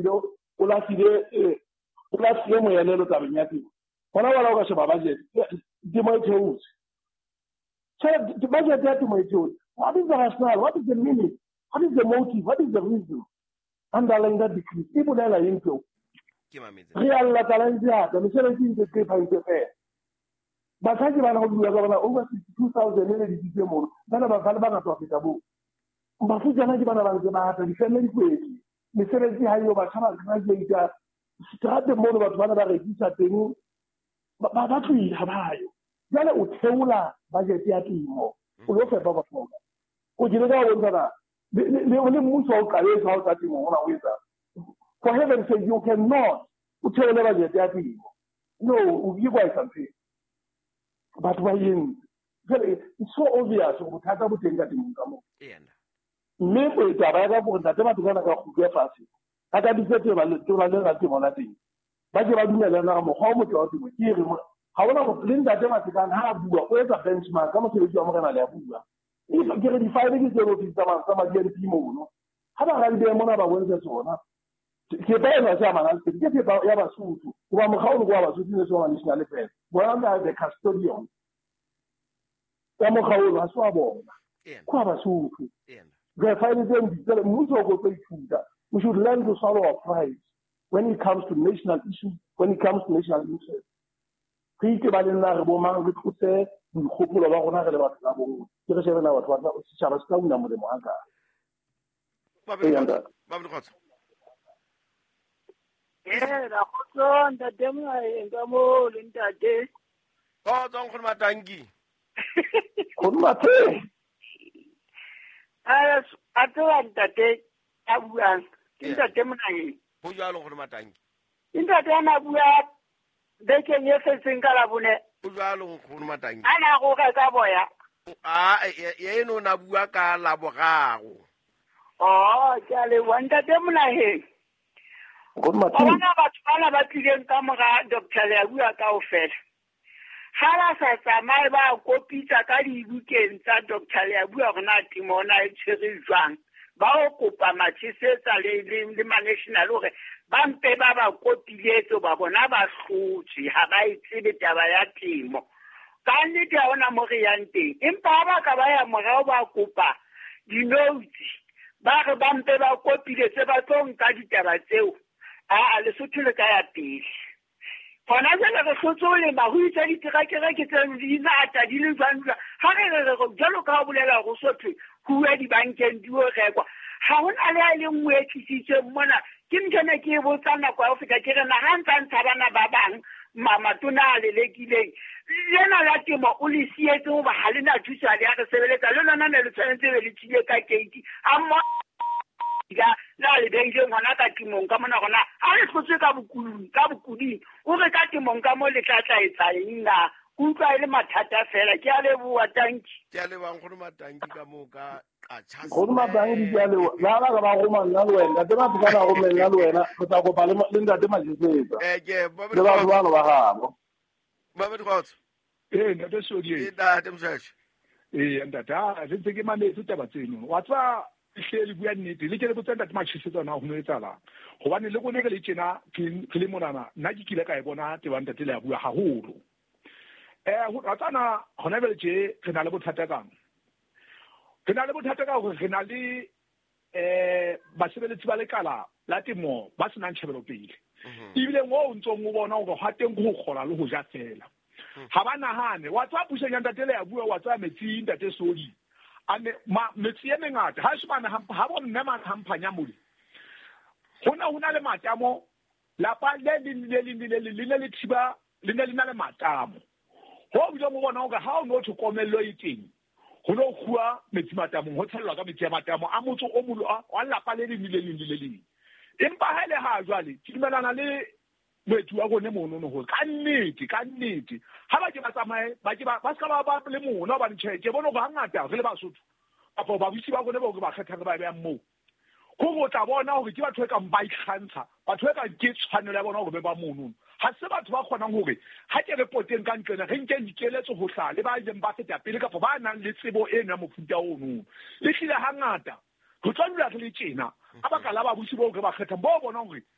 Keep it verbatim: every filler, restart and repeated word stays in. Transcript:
o lahlile o lahlile moelelo tabeng ya temo. Hona wala o ka sheba budget temo e theotse. Tjhelete budget ya temo e theotse. What is the rationale? What is the meaning? What is the motive? What is the reason underlying that decrease? E bolela eng tseo? Re a lla tlala ntse ata, mesebetsi e ntse qepha ntse fela. Batjha ke bana ho bua ka bona over sixty-two thousand e le ditse mono. Bana ba ba bangata ho feta boo. Bafutsana ke bana ba ntse ba ata, difeme di kwetse. Mesebetsi ha eyo, batjha ba graduate seterateng mono, batho bana ba rekisa teng, ba ba tlohile ha ba yo. Jwale o theola budget ya temo, o lo fepa batho. O ke leka ho bontsha na le le mmuso o qaletse ha o tsa temo hona o etsa. For heaven's sake, you cannot o theole budget ya temo. No, o ke kwa etsa ntho. Batho ba entse. Jwale it's so obvious hore bothata bo teng ka temong ka moo. Mme taba ya ka hore ntate batho bana ka kgutlwe fatshe. A ka bitsa teba le tona le la temo la teng. Ba ke ba dumellana ka mokgwa o motle wa temo. Ke re ha hona le ntate Matekane ha a bua o etsa benchmark ka mosebetsi wa morena le a bua. Ke re di-file ke tseo ofisi tsa ma D N P mono. Ha ba radibe mona ba bontshe tsona. Thepa ena se amanang le ke thepa ya Basotho. Hoba mokgwa ono ke wa Basotho ne se wa national affairs. Bona ba the custodian. Ya mokgwa ono ha se wa bona. Ke wa Basotho. Re file tseo di tsela mmuso o tlo ithuta. We should learn to swallow our pride when it comes to national issues, when it comes to national interests. Re itebaleng na re bo mang, re tlose boikgopolo ba rona re le batho ba bongwe. Ke re shebe na batho ba setjhaba se tla una molemo ha kae. Ba be Eh, la khotso ntate Moaeng ka mo le ntate. Khotso nkgono Matanki. Nkgono Mathe. A a tseba ntate a buang. Ke ntate Moaeng. Ho jwalo nkgono Matanki. Ntate ana bua bekeng e fetseng ka labone. Ho jwalo nkgono Matanki. Ana go reka boya. A eno na bua ka laboraro. Oh, ke a leboha ntate Moaeng. Bona batho bana ba tlileng ka mora Doctor Leabua kaofela. Ha ba sa tsamaye ba kopitsa ka dibukeng tsa Doctor Leabua hore na temo ona e tshwere jwang. Ba o kopa matjhesetsa le le ma-national hore ba mpe ba ba kopiletse ba bona ba hlotse ha ba e tsebe taba ya temo. Ka nnete ha hona mo re yang teng. Empa ha ba ka ba ya morao ba kopa di-notes ba re ba mpe ba kopiletse ba tlo nka ditaba tseo. A Lesotho le ka ya pele. Hona jwale re hlotse ho lema ho itse diterakere ke tse di ngata di le jwang jwang. Ha re re re jwalo ka ha bolela hore Sotho ho uwe dibankeng di o rekwa. Ha hona le ha e le nngwe e tlisitsweng mona. Ke ntho ena ke e botsang nako ya ho feta ke re na ha ntsa ntsha bana ba bang matona a lelekileng. Lena la temo o le sietse hoba ha le na thuso ha le ya re sebeletsa. Le lona ne le tshwanetse be le tswile ka keiti. Ha mmoho la le beileng hona ka temong ka mona rona ha re hlotswe ka bokulung ka bokuding o re ka temong ka mo le tla tla etsa eng na ke utlwa e le mathata fela. Ke a leboha tanki. Ke a leboha nkgono Matanki ka moo ka qatjha. Nkgono Matanki ke a leboha. La ba ka ba roma nna le wena. Ntate Matekane a rome nna le wena. Re tla kopa le le ntate Majesetsa. Eh ke le batho bano ba gabo. Ba be dikgotso. Eh ntate Sodi. Eh ntate Mshasha. Eh ntate ha re ntse ke mametse taba tseno. Wa tswa hle le bua nnete le ke le botsa ntate Matjhesetsa na ho no etsahalang hobane le rona re le tjena re le monana nna ke kile ka e bona tebang ntate le a bua haholo. Eh ho ratsana hona jwale tje re na le bothata kang re na le bothata ka hore re na le eh basebeletsi ba lekala la temo ba senang tjhebelopele ebile moo o ntsong o bona hore ha teng ho kgola le ho ja fela ha ba nahane wa tswa puseng ya ntate le a bua wa tswa metsi ntate Sodi ane ma metsi e mengata ha shebana ha bo mme man hamphanya mole hona hona le matamo lapa le le le le le le le thiba le ne le na le matamo ho bile mo bona hore ha o no thokomello e teng ho no khuwa metsi matamong ho tshellwa ka metsi a matamo a motso o molo wa lapa le le le le le le empa ha ile ha jwale ke dumelana le moetsi wa rone mono no hore ka nnete ka nnete ha ba ke ba tsamaye ba ke ba ba ska ba ba le mona hobane tjhe ke bona hore hangata re le Basotho kapa babusi ba rone ba hore ba kgethang ba beang moo ko go tla bona hore ke batho e kang ba ikgantsha batho e kang ke tshwanelo ya bona hore be ba mono ha se batho ba kgonang hore ha ke re poteng ka ntlena re nke dikeletso ho hlaha le ba ileng ba feta pele kapa ba nang le tsebo eno ya mofuta ono e hlile hangata re tla dula re le tjena Ka baka la babusi boo re ba kgethang, bo bonang hore